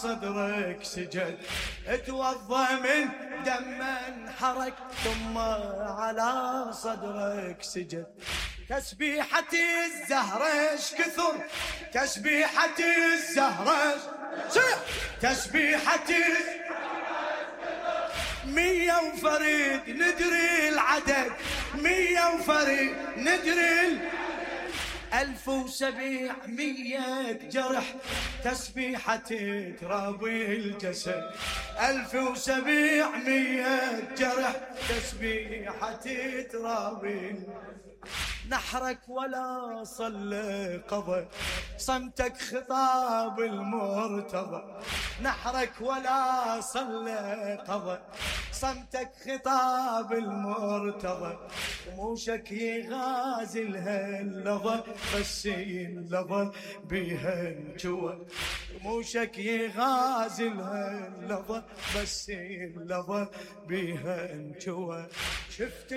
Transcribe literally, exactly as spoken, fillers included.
صدرك سجد، اتوضى من دم انحرق ثم على صدرك سجد. تسبيحة الزهرة اش كثر، تسبيحة الزهرة صيح، تسبيحة مية وفريد ندري العدد، مية وفريد ندري العدد، ألف وسبعمية جرح تسبيحة ترابي الجسد، ألف وسبعمية جرح تسبيحة ترابي. نحرك ولا صلى قضى، صمتك خطاب المرتضى، نحرك ولا صلى قضى، صمتك خطاب المرتضى. رموشك يغازل هاللظى بس اللظى بيها انجوى، رموشك يغازل هاللظى بس اللظى بيها انجوى. شفت